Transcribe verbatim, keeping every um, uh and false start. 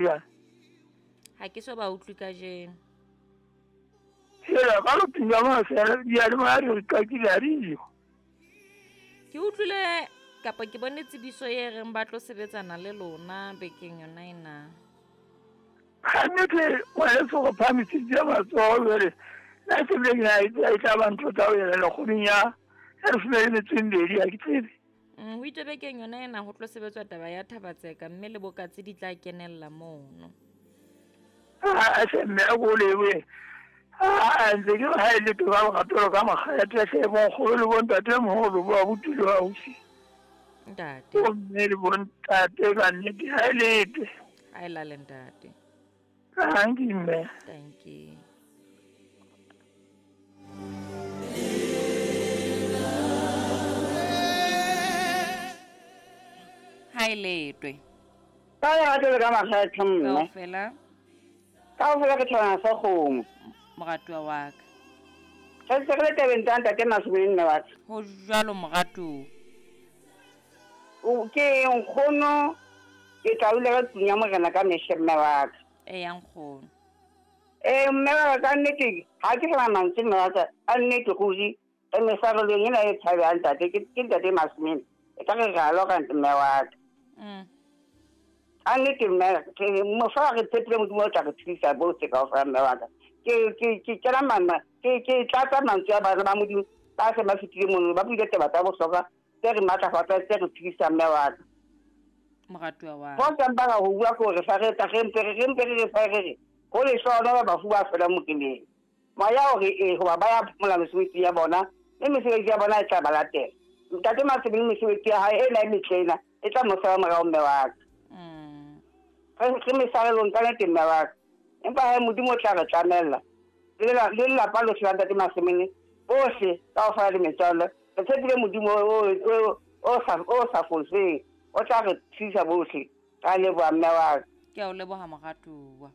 Ya. Ha ke so ba utlwe kajeno. Hela, ka lo tunya mafela, diyalemoya di re qakile ha diyo. Ke utlwile kapa ke bone tsebiso e reng ba tlo sebetsana le lona bekeng yona ena. Kannete ngwaneso go phahamisitse matsoho jwale. Nna se bile ke na e tseba e tla ba ntho tsa ho ela kgweding ya ya leshome le metso e mmedi ha ke tsebe. Mm, ho itswe bekeng yona ena ho tlo sebetswa taba ya Thabatseka mme le bokatse di tla kenella mono. Ah, hle mme a ko lebohe. Ah, ntse ke re ha e le toka lerato ka makgethe hle bonkgono le bontatemoholo bo abuti le ausi. Ntate. Bomme le bontate ka nnete ha e letwe. Ha e lale ntate. Thank you mme. Thank you. Ha e letwe. Ka lerato le ka makgethe mme. Kaofela. Kaofela ke thabana sa kgomo. Moratuwa wa ka. Re se re le tabeng tsa ntate Masomene mme wa ka. Ho jwalo moratuwa. O ke nkgono ke tla dula ka tlung ya morena ka mehla mme wa ka. Eya nkgono. Eh mme wa ka nnete ha ke sana mantswe mme wa ka a nnete ruri e mesarelong ena e tshabehang ntate ke ke ntate Masomene e ka re re a lora mme wa ka. Mm. A nnete mme ke mofa re tshepile Modimo o tla re thusa bohle kaofela mme wa ka. Ke ke ke kena mama ke ke tlatsa mantswe a bana ba Modimo ba se ba fetile mono ba buile taba tsa bohlokwa tse re matlafatsang tse re thusang mme wa ka. Moratuwa wa ka. Ho sa mpaka ho bua ke hore fa re tla re mpe re re mpe re re fa re re ho lehlohonolo bafu ba felang moreneng. Moya o re ee hoba ba ya phomola mesebetsi ya bona mme mesebetsi ya bona e tla ba latela. Ntate Masomene mesebetsi ya hae ena e metle ena e tla mo sala morao mme wa ka. Mm. Re re mesarelong ka nnete mme wa ka. Empa hae Modimo o tla re tlamella. Le le lelapa lohle la ntate Masomene bohle kaofela le metswalle re tshepile Modimo o o o sa o sa foseng o tla re thusa bohle. Ka leboha mme wa ka. Ke a o leboha moratuwa.